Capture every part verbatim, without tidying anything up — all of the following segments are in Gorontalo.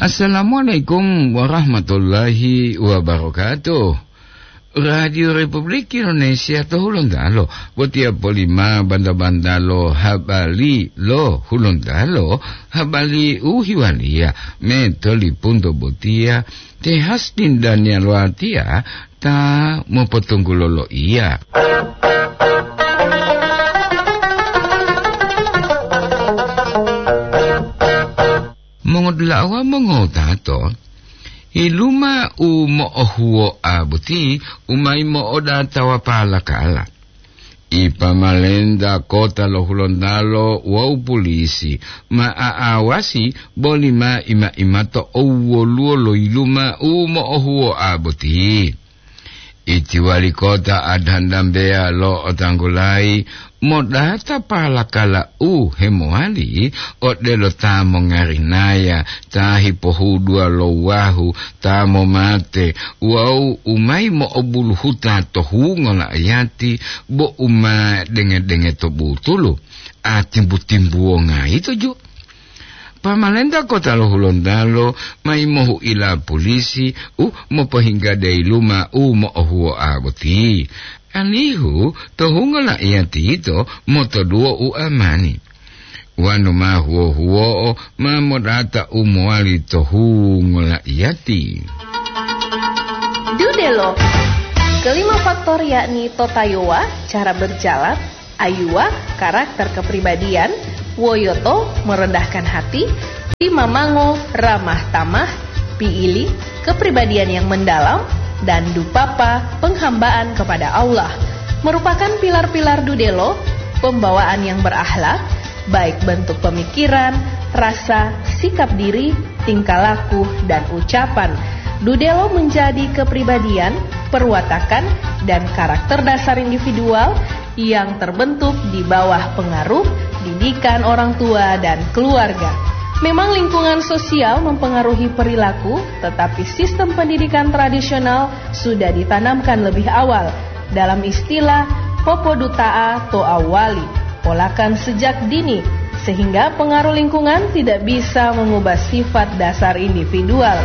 Assalamualaikum warahmatullahi wabarakatuh. Radio Republik Indonesia to Hulontalo, botiya polima banda-banda lo habari lo Hulontalo, habari u hiwaliya me tolipunto botiya, te Hasdin Daniel Watiya ta mopotunggulo loiya. Mongodula'a mongowutato, yiluma u mo'ohuwo'a boti u mayi mo'odata wapalakala. Ipamalenta kota lo Hulontalo wawu pulisi ma a'awasi boli ma ima-imato owwoluwo lo yiluma u mo'ohuwo'a boti. Iti wali kota Adhandambeya lo otanggulayi modata palakala u hemowali odelo ta mongarinaya, ta hipohuduwa lo wahu, ta momate wawu u mayi mo'obuluhuta to hungo la'ayati bo u ma denge-denge to butulu, a timbu-timbuwonga yito ju. Pamalenta kota lo Hulontalo mayi mohu'ila pulisi u mopohingga dayiluma u mo'ohuwo'a boti, alihu to hungo la'iyati yito motoduwo u amani. Wonu ma huwo-huwo'o ma modata u mowali to hungo la'iyati. Dudelo. Kelima faktor yakni totayowa, cara berjalan, ayuwa, karakter kepribadian, woyoto, merendahkan hati, timamango, ramah tamah, piili, kepribadian yang mendalam, dan dupapa, penghambaan kepada Allah, merupakan pilar-pilar dudelo, pembawaan yang berakhlak, baik bentuk pemikiran, rasa, sikap diri, tingkah laku, dan ucapan. Dudelo menjadi kepribadian, perwatakan, dan karakter dasar individual yang terbentuk di bawah pengaruh didikan orang tua dan keluarga. Memang lingkungan sosial mempengaruhi perilaku, tetapi sistem pendidikan tradisional sudah ditanamkan lebih awal. Dalam istilah, popoduta'a to awali, polakan sejak dini, sehingga pengaruh lingkungan tidak bisa mengubah sifat dasar individual.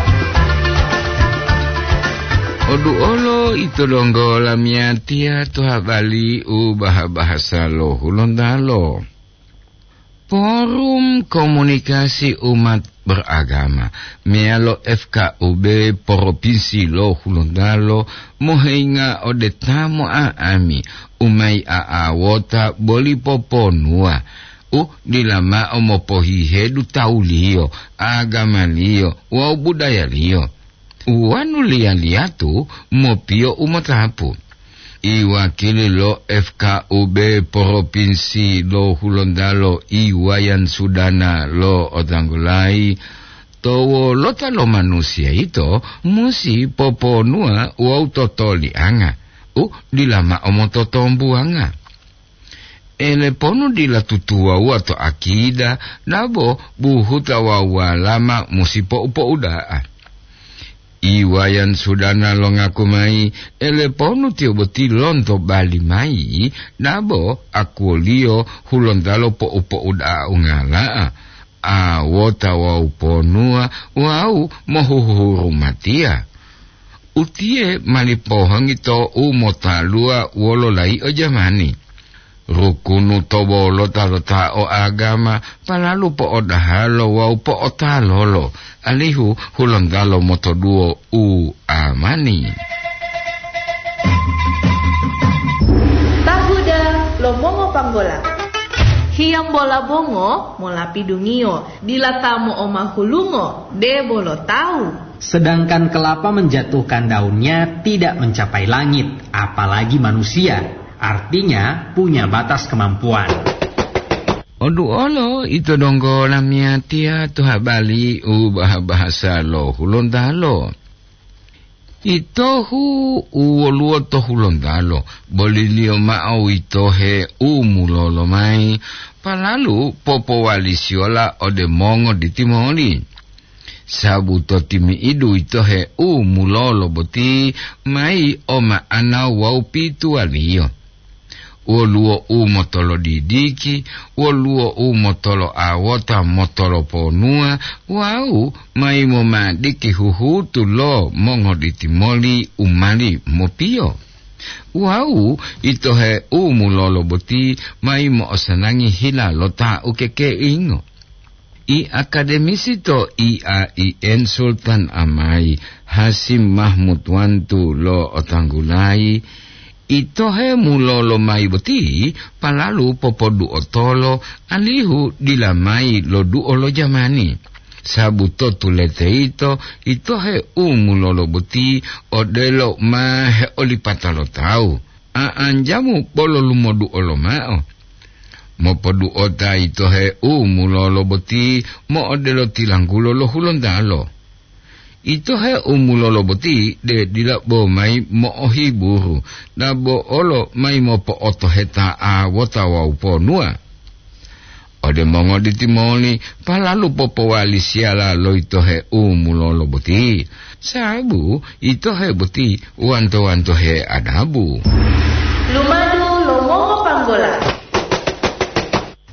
Oduolo ito donggo lamiyatiya to habari u baha-bahasa lo Hulontalo. Forum Komunikasi Umat Beragama meyalo F K U B Propinsi lo Hulontalo mohenga ode ta mo'a'ami u mayi a'awota boli poponuwa u dila ma'o mopohihedu tawuliyo, agamaliyo wawu budayaliyo. Wonu liya-liyatu mopiyo u motapu. Iwakili lo F K U B Propinsi lo Hulontalo, Iwayan Sudana lo otanggulayi, to wolota lo manusiya yito musi poponuwa wawu totolianga u dila ma'o mototombuwanga. Eleponu dila tutuwawuwa to akida, dabo buhuta wawu walama musi po'u-po'uda'a. Iwayan Sudana longaku mayi, eleponu tiyo boti lonto bali mayi, dabo akuwoliyo Hulontalo po'u-po'uda'a ungala'a, awota wawu ponuwa wawu mohuhurumatiya. Utiye mali pohongi to u motaluwa wolo layi'o jamani. Rukunu to wolota lo ta o agama palalu po'odahalo wawu po'otalolo, alihu Hulontalo motoduwo u amani. Tahuda lo mongopanggola. Hiyambola bongo molapidungiyo, dila ta mo'omahulungo, debo lo tawu. Sedangkan kelapa menjatuhkan daunnya tidak mencapai langit, apalagi manusia. Artinya, punya batas kemampuan. Oduolo ito donggo lamiyatiya to habari u baha-bahasa lo Hulontalo. Itohu u woluwo to Hulontalo, boliliyo ma'o witohe u mulolo mayi, palalu popowalisiyola ode mongo ditimoli. Sabu to timi'idu witohe u mulolo boti mayi o ma'ana wawu pituwaliyo. woluwo u motolodidiki, woluwo u motoloawota motoloponuwa, wawu mayi momadiki huhutu lo mongoditi moli u mali mopiyo. Wawu itohe u mulolo boti mayi mo'osanangi hila lo ta ukekeingo. I akademisi to I A I N Sultan Amai Hasim Mahmud Wantu lo'otanggulayi, itohe mulolo mayi boti palalu popoduotolo alihu dila mayi loduo lo jamani. Sabu to tulete yito, itohe u mulolo boti odelo ma heolipata lo tawu, a'anjamu bolo lumoduo lomao. Mopoduota itohe u mulolo boti mo'odelo tilanggulo lo Hulontalo. Itohe u mulolo boti de dila bo mayi mo'ohiburu, dabo olo mayi mopo'otoheta awota wawu ponuwa. Ode mongoditi moli palalu popowali siyala lo itohe u mulolo boti, sabu itohe boti wanto-wantohe adabu. Lumadu lo mongopanggola.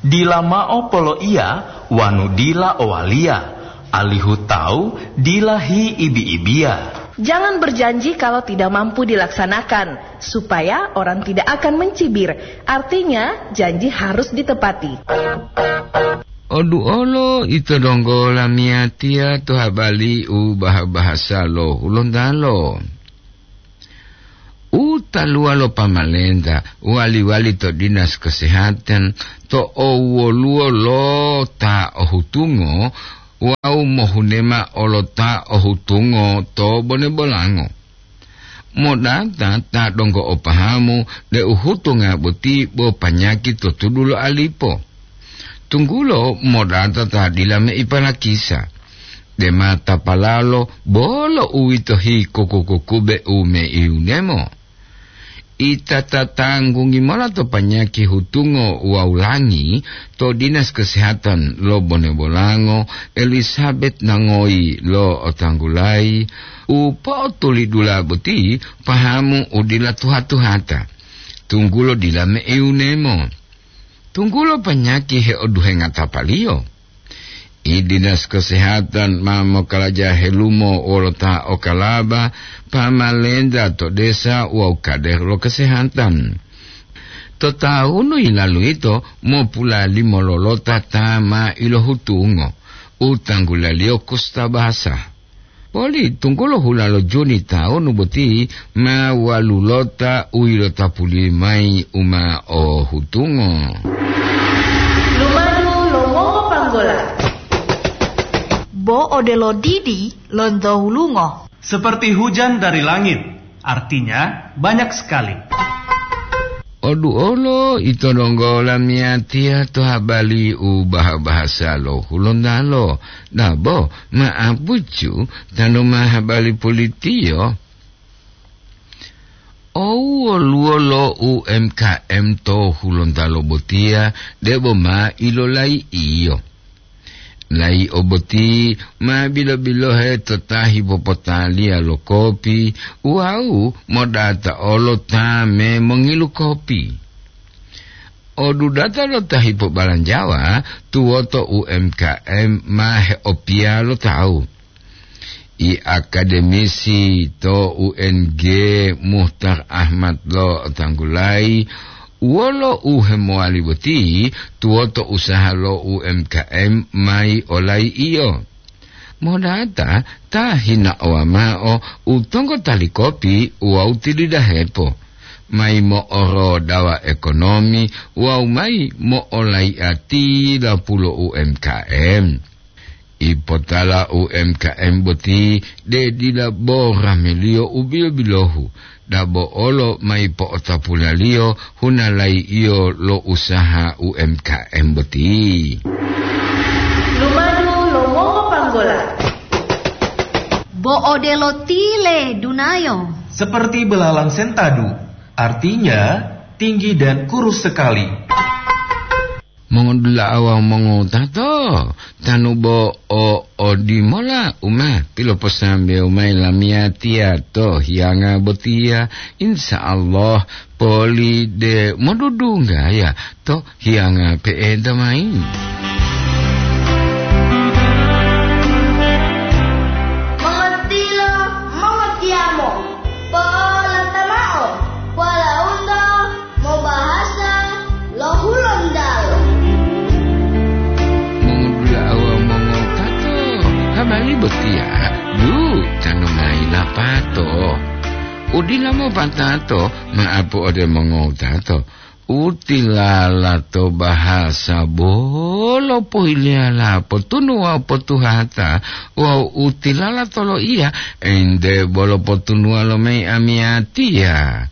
Dila mao poloiya wanu dila owaliya, alihu tawu dila hiibi-ibiya. Jangan berjanji kalau tidak mampu dilaksanakan, supaya orang tidak akan mencibir. Artinya, janji harus ditepati. Oduolo ito donggo lamiyatiya to habali u baha-bahasa lo Hulontalo. U taluwa lo pamalenta wali-wali to dinas kesehatan to owoluwo lo ta ohutungo wawu mohunema olo ta ohutungo to bone-bolango. Modata ta donggo o pahamu deu hutunga boti bo panyaki to tudu lo alipo. Tunggulo modata ta dila meiparakisa, dema tapalalo bolo uwito hikuku-kukube u meiunemo. Ita tatanggungi mola to panyaki hutungo wawu langi to dinas kesehatan lo bone-bolango Elizabeth Nangoyi lo otanggulayi u po'otulidula boti pahamu u dila tuha-tuhata, tunggulo dila meiunemo. Tunggulo panyaki heoduhenga tapaliyo. I dinas kesehatan ma mokalaja helumo wolo ta okalaba, pamalenta to desa wawu kader lo kesehatan. To taunu yilalu yito mopulalimo lolota ta ma ilohutungo, u tanggulaliyo kustabasa. Poli tunggulo hula lo Juni taunu boti ma walulota u yilotapuli mayi u ma ohutungo. Lumadu lo mongopanggola. Bo odelo didi lonto hulungo. Seperti hujan dari langit, artinya banyak sekali. Oduolo ito donggo lamiyatiya to habali u baha-bahasa lo Hulontalo. Dabo, ma apucu tanu ma habali pulitiyo. Owoluwo lo U M K M to Hulontalo botiya debo ma ilolai'iyo. Layi'o boti ma bilo-bilohe to ta hipopotaliya lo kopi wawu modata olo ta me mongilu kopi. Odudata lo ta hipobalanjawa tuwoto U M K M ma heopiya lo tawu. I akademisi to U N G Muhtar Ahmad lo tanggulayi wolo u hemowali boti tuwoto usaha lo U M K M mayi olai'iyo. Modata ta hinaowa mao u tonggota li kopi wawu tilidahepo, mayi mo'orodawa ekonomi wawu mayi mo'olai'a tilapulo U M K M. Ipotala U M K M boti de dila bo rameliyo u bilo-bilohu, dabo olo mayi po'otapulaliyo hunalai'iyo lo usaha U M K M boti. Lumadu lo mongopanggola. Bo odelo tile dunayo. Seperti belalang sentadu, artinya tinggi dan kurus sekali. Mongodula'a wawu mongowutato, tanu bo o odimola u ma piloposambewu mayi lamiyatiya to hiyanga botiya, insya Allah poli de modudunggaya to hiyanga pe'enta mayi. Mongotilo, mongotiyamo, polata mao, polaunto mobahasa lo Hulontalo. Mongudula'a wawu mongotato, habari botiya, du, tanu mayi lapato. Udila mopatato, ma'apu ode mongotato. Utilala to bahasa bolo pohiliyala potunu wawu potuhata wawu utilala to loiya ente bolo potunuwa lo mayi amiyatiya.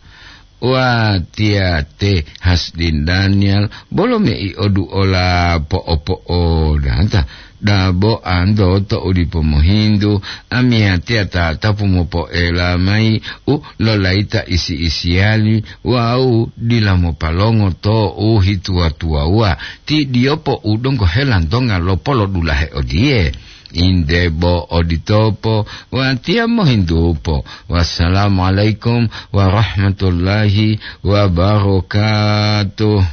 Watiya te Hasdin Daniel bolo mei oduola po'opo'odata. Dabo anto to u dipo mohintu, amiyatiya tatapu mopoela mayi u lolaita isi-isiyali wawu dila mopalongo to u hituwa-tuwawuwa. Ti diyopo u donggo helantonga lopolodulahe odiye, inde bo oditopo, watiya mohintupo. Wassalamualaikum warahmatullahi wabarakatuh.